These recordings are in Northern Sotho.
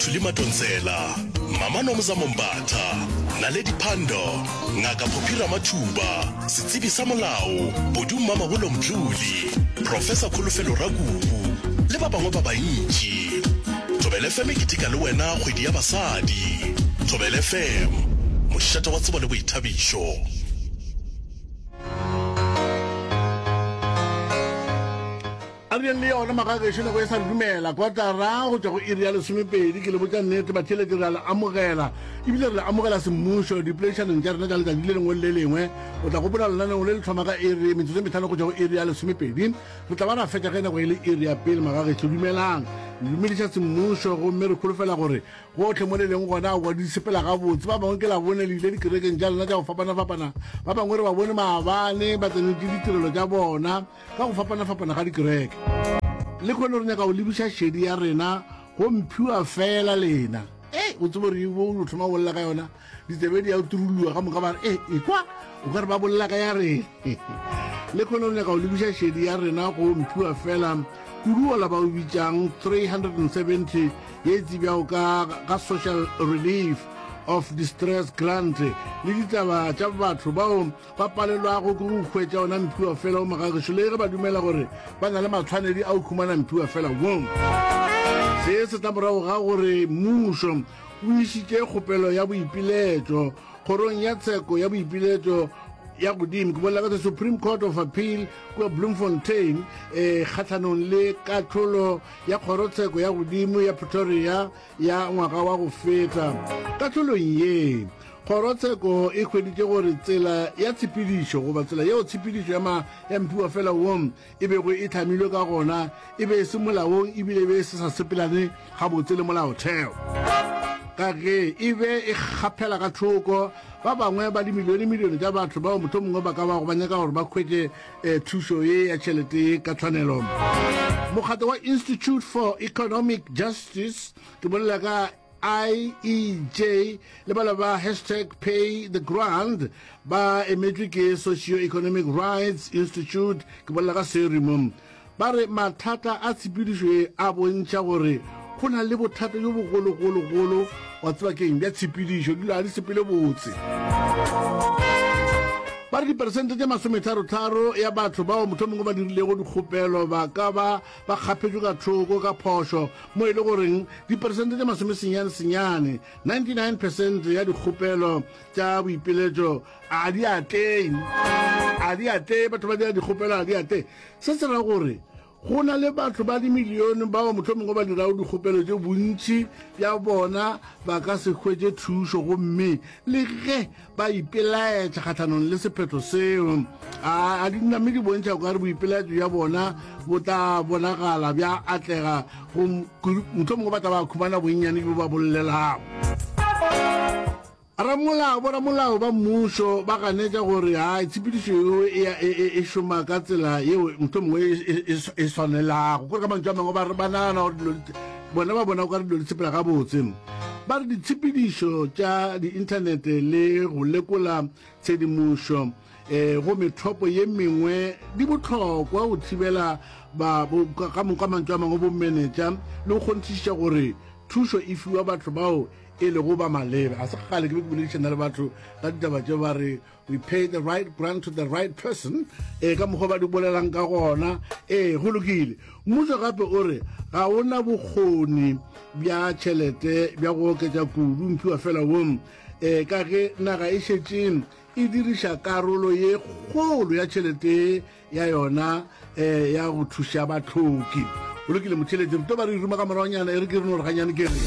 Thuli Madonsela, Mama Nomzamo Mbatha, Naledi Pandor, Ngaka Phophi Ramathuba, Setsebi sa Molao, Bodu Mmamabolo Mdluli, Professor Kholofelo Rakubu le ba bangwe ba bantši. Thobela FM e keteka le wena kgwedi ya basadi. Thobela FM, mošate wa tsebo le boithabišo. A re yeng le yona magagešo nako e sa re dumela kwatara go tšwa go iri ya lesomepedi. Ke le botša nnete batheeletši re a le amogela ebile re le amogela semmušo dipoledišanong tša rena tša letšatši le lengwe le le lengwe. O tla gopola lenaneo le le thoma ka iri metsotso e mehlano go tšwa go iri ya lesomepedi. Re tla ba ra fetša ge nako e le iri ya pele. Magagešo dumelang, le dumediša semmušo gomme re holofela gore gohle mo le leng gona aowa di sepela gabotse. Ba bangwe ke la bone le ile dikerekeng tša lena tša go fapana-fapana, ba bangwe re ba bone maabane ba tsenetše ditirelo tša bona. Ka go fapana-fapana ga dikereke. Lehono re nyaka go lebiša šedi ya rena go mphiwa feela lena. Ei, o tsebe gore o thoma go bolela ka yona, ditsebe di ya turulua ka moka ba re, e, ekwa, o ka re ba bolela ka ya rena. Lehono re nyaka go lebiša šedi ya rena go mphiwa feela kudu ola ba o bitšang 370 ye e tsebjago ka, ka Social Relief of Distress Grant le ditaba tša batho bao ba palelwago ke go hwetša ona mphiwa fela wo magagešo le ge ba dumela gore ba na le matshwanedi a go humana mphiwa fela wo. Se se tla morago ga gore mmušo o išitše kgopelo ya boipiletšo kgorong ya tsheko ya boipiletšo ya godimo, ke bolela ka the Supreme Court of Appeal kua Bloemfontein, eh, kgahlanong le kahlolo ya kgorotsheko ya godimo ya Pretoria ya ngwaga wa go feta. Kahlolong ye, Kgorotsheko e hweditše gore tsela ya tshepedišo goba tsela yeo tshepedišo ya ma ya mphiwafela wo e bego e hlamilwe ka gona e be e se molaong ebile e be e se sa sepelane gabotse le molaotheo, ka ge e be e kgaphela ka thoko ba bangwe ba dimilionemilione tša batho bao mohlomongwe ba ka bago ba nyaka gore ba hwetše eh, thušo ye ya tšhelete ye ka tshwanelo. Mokgatlo wa Institute for Economic Justice, ke bolela ka IEJ le bala ba hashtag pay the grant ba emetšwe ke Socio-Economic Rights Institute, ke bolela ka SERI mo, ba re mathata a tshepedišo ye a bontšha gore go na le bothata bjo bogologologolo wa tseba keng bja tshepedišo, dilo ga di sepele botse. Ba re diperesente tše masometharotharo ya batho bao mohlomongwe ba dirilego dikgopelo ba ka ba ba kgaphetšwe ka thoko ka phošo mo e le goreng diperesente tše masomesenyane senyane, 99 percent, ya dikgopelo tša boipiletšo a di atlege. A di atlege, batho ba dira dikgopelo a di atlege. Se se ra gore go na le batho ba dimilione bao mohlomongwe ba dirago dikgopelo tše bontši bja bona ba ka se hwetše thušo gomme le ge ba ipelaetša kgahlanong le sephetho seo. A a di name di bontšha okare boipelaetšo bja bona bo tla bonagala bja atlega go mohlomongwe ba tla ba khumana bonnyane bjo ba bo llelago. Ramolao, boramolao ba mmušo ba ganetša gore hai tshepedišo yeo e, e, e, e šoma ka tsela yeo mohlomongwe e, e, e swanelago. Kore ka mantšu a mangwe ba, ba nagana gore dilo bona ba bona okare dilo di sepela gabotse. Ba re ditshepedišo tša diinthanete le go lekola tshedimošo um go methopo ye mengwe di bohlokwa go thibela ba, bo, ka, ka mantšu a mangwe bomenetša le go kgonthišiša gore thušo e fiwa batho bao e lego ba maleba. Ga se kgale ke be ke boledišana le batho ka ditaba tše ba re we pay the right grant to the right person ee ka mokgwa ba di bolelang ka gona ee go lokile mmušo gape o re ga o na bokgoni bja tšhelete bja go oketša kudu mphiwa fela wo um ka ge naga e šetše e diriša karolo ye kgolo ya tšhelete ya yona um ya go thuša bahloki. Go lokile motheeletši, re tlo ba re ruma ka moragonyana, e re ke re no re ganyane ke re.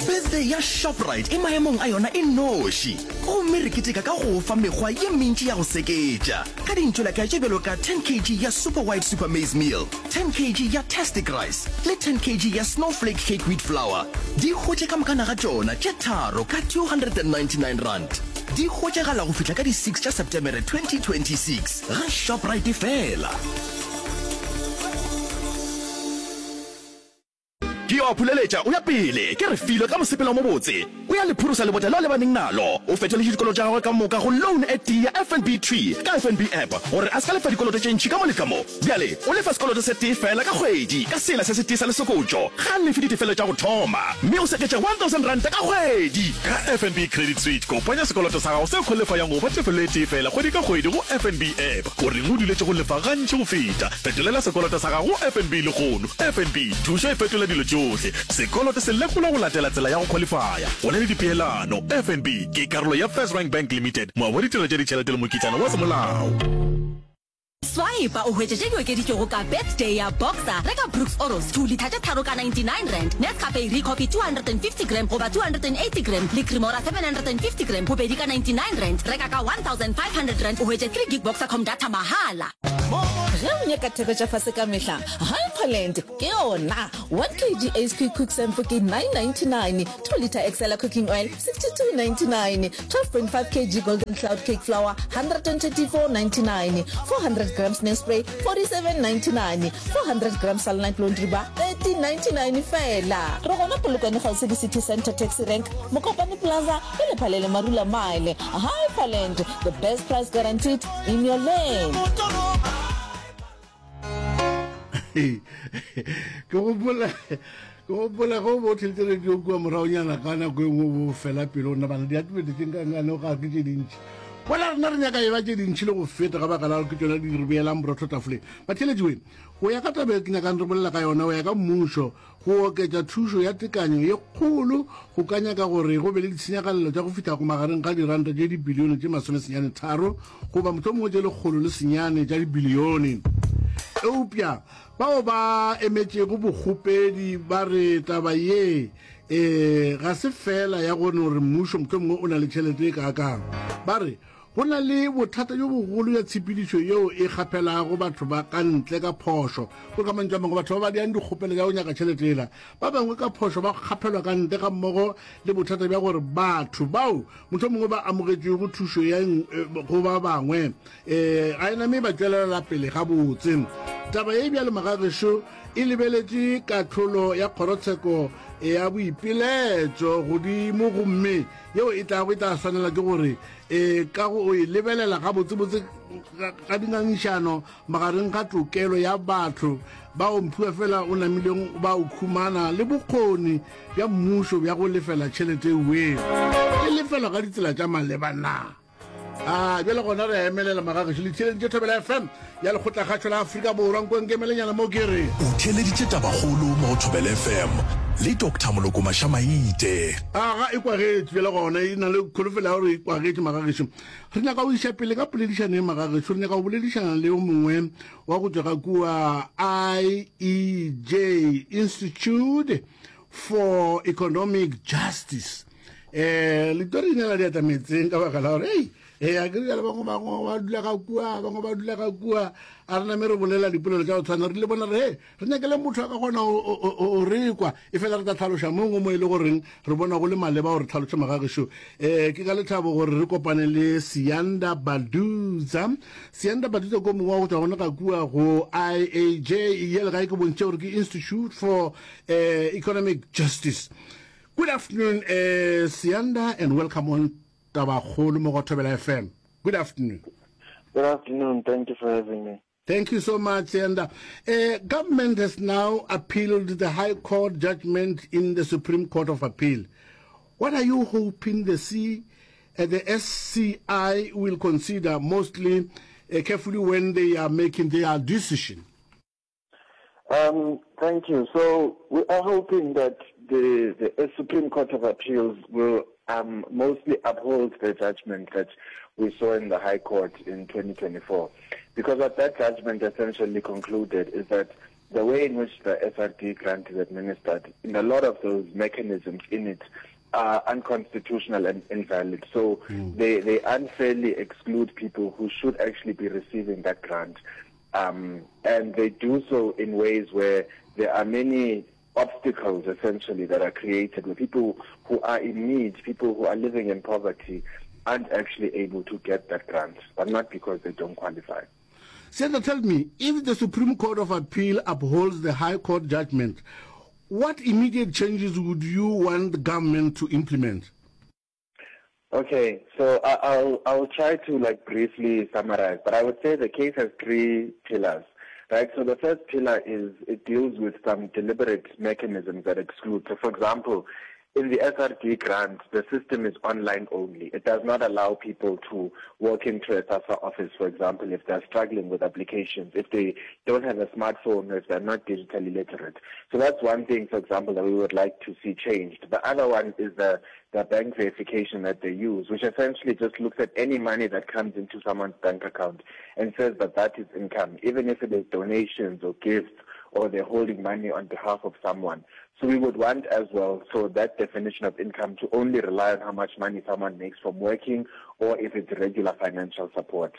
Birthday ya Shoprite e maemong a yona e noši, gomme re keteka ka go fa mekgwa ye mentši ya go seketša ka dintšwelakae tše bjalo ka 10 kg ya Super White Super Maize Meal, 10 kg ya Tastic Rice le 10 kg ya Snowflake Cake Wheat Flour. Di hwetše ka moka naga tšona tše tharo ka R299. Di hwetšagala go fihla ka di 6 tša Setemere 2026 ga Shoprite fela. Ke yo a phuleletša o ya pele, ke Refilwe ka mosepelo o mobotse. O ya le phurosa lebota leo a lebaneng nalo. O fetoletše dikoloto tša gagwe ka moka go loan e tee ya FNB thwi ka FNB app gore a se ka lefa dikoloto tše ntši ka mo le ka mo. Bjale o lefa sekoloto se tee feela ka kgwedi ka sela se setee sa lesokotšo. Ga a lefe ditefelo tša go thoma mme o seketša R1000 ka kgwedi. Ka FNB Credit Suite, kopanya sekoloto sa gago se kholefayang go ba tefelo e tee feela kgwedi ka kgwedi go FNB app. O reng o duletše go lefa gantši go feta? Fetolela sekoloto sa gago go FNB lehono. FNB, thušo e fetola dilo tšohle. Sekoloto se lekolwa go latela tsela ya go khwalifaya, go na le dipeelano. FNB ke karolo ya FirstRand Bank Limited, moabi wa ditirelo tša ditšhelete le mokitlana wa semolao. Swipa o hwetše tše di okeditšwego ka Birthday ya Boxer. Reka Brooks Oros 2 litha tše tharo ka R99, Nescafe Ricoffy 250 gram goba 280 gram le Cremora 750 gram bobedi ka R99. Reka ka R1500 o hwetše 3 gig Boxercom data mahala. Ge o nyaka theko tša fase ka mehla, Hyperland ke yona. 1 kg Ace Quick Cook Sampo ke 9.99, 2 litre Excella Cooking Oil 62.99, 12.5 kg Golden Cloud Cake Flour 134.99, 400 grams Nespray 47.99, 400 grams Sunlight Laundry Bar 13.99 feela. Re gona Polokwane kgauswi le City Centre Taxi Rank, Mokopane Plaza le Lephalele Marula Mile. Hyperland, the best price guaranteed in your lane. Ke gopola ke gopola ge o bo o theletše radio kua moragonyana ka nako e nngwe o bo fela pelo o nna bana diatibete tše nkangane ga ke tše dintši bona rena re nyaka e ba tše dintši le go feta ka baka la gore ke tšona di re beelang borotho tafoleng. Batheeletši we go ya ka taba e ke nyakang re bolela ka yona go ya ka mmušo Go oketša thušo ya tekanyo ye kgolo go ka nyaka gore go be le ditshenyagalelo tša go fihla go magareng ga diranta tše dibilione tše masomesenyane-tharo goba mohlomongwe tše 109 tša dibilione. Eupša bao ba emetšego bokgopedi ba re taba ye e ga se feela ya go no re mmušo mohlomongwe o na le tšhelete e kaakang. Ba re Go na le bothata bjo bogolo bja tshepedišo yeo e kgaphelago batho ba ka ntle ka phošo. Go ka mantšu a mangwe, batho ba ba diang dikgopelo tša go nyaka tšhelete yela, ba bangwe ka phošo ba kgaphelwa ka ntle gammogo le bothata bja gore batho bao mohlomongwe ba amogetšego thušo ya go ba bangwe ga e name ba tšwelela pele gabotse. Taba ye bjalo magagešo e lebeletše kahlolo ya kgorotsheko ya boipiletšo godimo gomme yeo e tlago e tla swanela ke gore E ka go e lebelela gabotsebotse ga dingangišano magareng ga tokelo ya batho bao mphiwa fela o namileng ba o khumana le bokgoni bja mmušo bja go lefela tšhelete ewe e lefelwa ka ditsela tša maleba na. A bjale gona re a emelela magagešo le theeleditše Thobela FM ya Lekgotlakgašo la Afrika Borwa nko nkemelenyana mo ke re. O theeleditše Tabakgolo mo go Thobela FM le Doctor Moloko Mašamaite. Aga e kwagetše bjale gona e na le kholofelo ya gore e kwagetše magagešo. Re nyaka go iša pele ka poledišano ye magagešo, re nyaka go boledišana le yo mongwe wa go tšwa ka kua IEJ, Institute for Economic Justice. Eh, letori le la diatla metseng ka baka la gore ei ee a kere jale bangwe bangwe ba dula ka kua bangwe ba dula ka kua a re name re bolela dipolelo tša go tshwana re le bona re he re nyakele motho a ka kgona o re kwa e fela re tla tlhaloša mongwe mo e le goreng re bona go le maleba gore tlhaloše magagešo um ke ka lethabo gore re kopane le Siyanda Baduza Siyanda Baduza ko mongwe wa go tšwa gona ka kua go IAJ ye legae ke bontšhe gore ke Institute for uh, Economic Justice. Good afternoon uh, Siyanda and welcome on Tabakgolo mo go Thobela FM. Good afternoon. Good afternoon. Thank you for having me. Thank you so much, Siyanda. Uh, government has now appealed the High Court judgment in the Supreme Court of Appeal. What are you hoping the C, uh, the SCI will consider mostly uh, carefully when they are making their decision? Um, thank you. So we are hoping that the, the Supreme Court of Appeals will um, mostly uphold the judgment that we saw in the High Court in 2024. Because what that judgment essentially concluded is that the way in which the SRD grant is administered, in a lot of those mechanisms in it, are unconstitutional and invalid. So mm. they, they unfairly exclude people who should actually be receiving that grant. Um, and they do so in ways where there are many obstacles essentially that are created where people who are in need, people who are living in poverty, aren't actually able to get that grant, but not because they don't qualify. Senator, tell me, if the Supreme Court of Appeal upholds the High Court judgment, What immediate changes would you want the government to implement? Okay, so I, I'll I'll try to like briefly summarize, but I would say the case has three pillars. Right, so the first pillar is it deals with some deliberate mechanisms that exclude. So for example, in the SRD grant, the system is online only. It does not allow people to walk into a SASSA office, for example, if they're struggling with applications, if they don't have a smartphone, or if they're not digitally literate. So that's one thing, for example, that we would like to see changed. The other one is the, the bank verification that they use, which essentially just looks at any money that comes into someone's bank account and says that that is income, even if it is donations or gifts or they're holding money on behalf of someone. So we would want as well, so that definition of income to only rely on how much money someone makes from working or if it's regular financial support.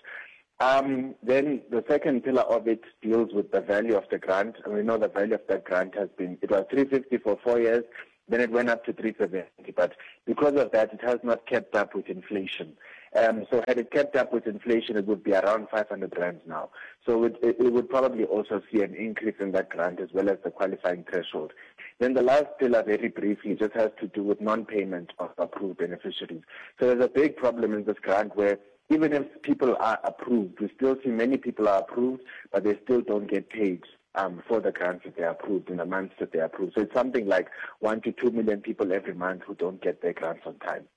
Um, then the second pillar of it deals with the value of the grant. And we know the value of that grant has been, it was 350 for four years, then it went up to 370. But because of that, it has not kept up with inflation. Um, so had it kept up with inflation, it would be around 500 rands now. So it, it, it would probably also see an increase in that grant as well as the qualifying threshold. Then the last pillar, very briefly, just has to do with non-payment of approved beneficiaries. So there's a big problem in this grant where even if people are approved, we still see many people are approved, but they still don't get paid um, for the grants that they approved in the months that they approved. So it's something like one to two million people every month who don't get their grants on time.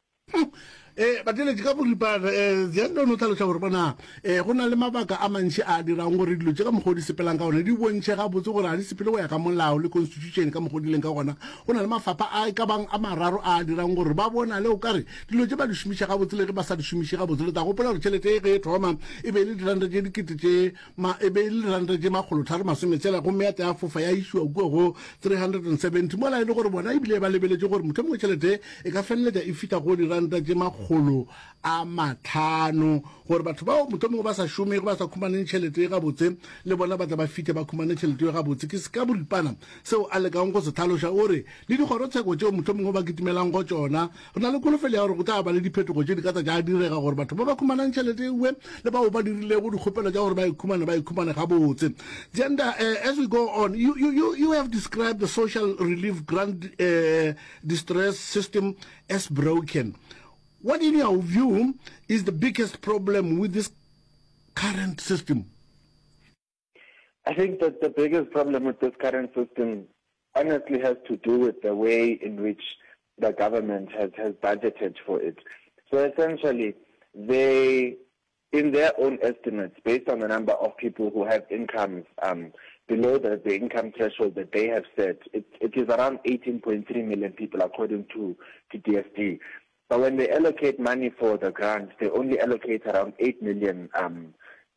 Eh, bateletši ka boripana eh, Ziyanda o no hlaloša gore bona eh, go na le mabaka a mantši a dirang gore dilo tše ka mokgwa o di sepelang ka gona di bontšhe gabotse gore ga di sepele go ya ka molao le constitution ka mokgwa o di leng ka gona. Go na le mafapha a e ka bang a mararo a dirang gore ba bonale o kare dilo tše ba di šomiša gabotse le ge ba sa di šomiše gabotse. Le tla gopola gore tšhelete e ge e thoma e be e le diranta tše dikete tše ma e be e le diranta tše makgolotharo masometshela gomme ya tla ya fofa ya išiwa kua go 370 mola e le gore bona ebile ba lebeletše gore mohlomongwe tšhelete e ka feleletša e fihla go diranta tše makgolo a matlhano gore batho bao mohlomongwe ba sa šomego ba sa khumaneng tšhelete e gabotse le bona ba tla ba fihle ba khumane tšhelete e gabotse. Ke se ka boripana seo a lekang go se hlaloša. O re le dikgorotsheko tšeo mohlomongwe ba kitimelang go tšona Re na le kholofelo ya gore go tla ba le diphetogo tše di ka tla tša direga gore batho ba ba khumanang tšhelete ewe le bao ba dirilego dikgopelo tša gore ba e khumane ba e khumane gabotse. Gender, uh, as we go on, you, you, you, you have described the social relief grant uh, distress system as broken. What in your view is the biggest problem with this current system? I think that the biggest problem with this current system honestly has to do with the way in which the government has, has budgeted for it. So essentially, they, in their own estimates, based on the number of people who have incomes um, below the, the income threshold that they have set, it, it is around 18.3 million people according to, to DSD. But when they allocate money for the grant, they only allocate around 8 million um,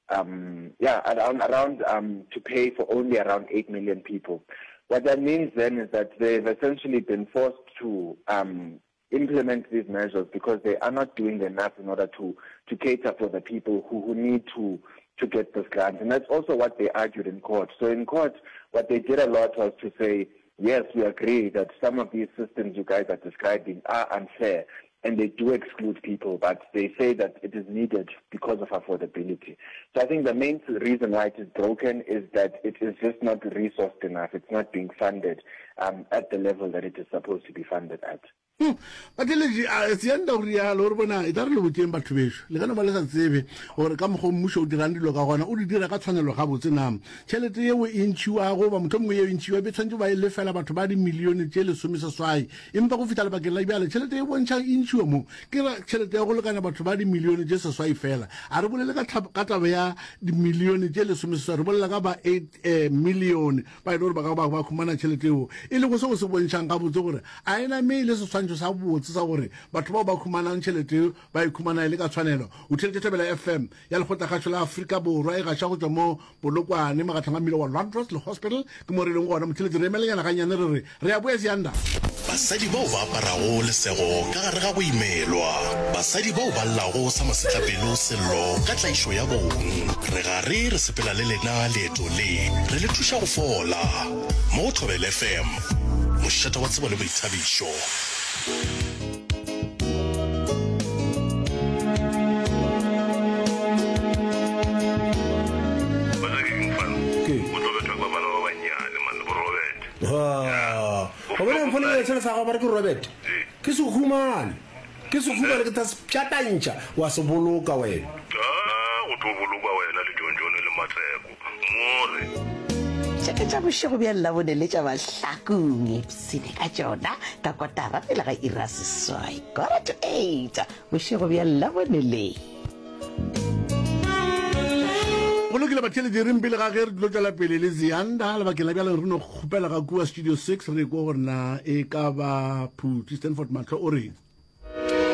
um, yeah, around, around um, to pay for only around 8 million people. What that means then is that they've essentially been forced to um, implement these measures because they are not doing enough in order to, to cater for the people who, who need to, to get this grant. And that's also what they argued in court. So in court, what they did a lot was to say, yes, we agree that some of these systems you guys are describing are unfair and they do exclude people, but they say that it is needed because of affordability. So I think the main reason why it is broken is that it is just not resourced enough. It's not being funded um, at the level that it is supposed to be funded at. Hmm. Batheeletši, a Seanda o rialo, o re bona, e tla re le botšeng batho bešo, le ka no ba le sa tsebe gore ka mokgwa o mmušo o dirang dilo ka gona, o di dira ka tshwanelo gabotse na. Tšhelete yeo e ntšhiwago, goba mohlomongwe yeo e ntšhiwa, e be tshwanetše ba e lefela batho ba dimilione tše lesomeseswai, empa go fihla lebakeng la bjale tšhelete e bontšhang e ntšhiwa mo ke ra tšhelete ya go lekana batho ba dimilione tše seswai fela. A re bolele ka, ka taba ya dimilione tše lesomeseswai, re bolela ka ba eight eh, milione ba e le gore ba ka ba ba khumana tšhelete eo, e lego seo se bontšhang gabotse gore a e name e le seswantšho sa botse sa gore batho bao ba khumanang tšhelete eo ba e khumana e le ka tshwanelo. O theletše Thobela FM ya Lekgotlakgašo la Afrika Borwa e gaša go tšwa mo Polokwane, magahlong a mmila wa Landros le Hospital, ke mo re leng gona. Motheletši re emelenyana gannyane re re re a boya Sianda. Basadi bao ba aparago lesego ka gare ga go imelwa. Basadi bao ba llago sa masetlapelo sello ka tlaišo ya bong. Re gare re sepela le lena leeto le, re le thuša go fola. Mo go Thobela FM, mošate wa tsebo le boithabišo. Wa tseba ke eng fan? Ke? O tlo bethwa ke bafana ba bannyane man, bo Robert. Ha. Sešele sela sa gago ba re ke Robert. Ke se humane. Ke se humane ke tla se pšatantšha wa se boloka wena. Ah, go tlo bolokwa wena le Jonjone le Matseko. More. Tše ke tša bošego bja Labone le tša Mahlakong. Ipshine ka tšona ka kotara pele ga iri ya seswai, quarter to eight, bošego bja Labone le. Go lokile batheeletši, reng pele ga ge re tlo tšwela pele le Ziyanda lebakeng la bjale re no kgopela ga kua Studio 6 re kwe gore na e ka ba Phuti Stanford Mahlo o reng.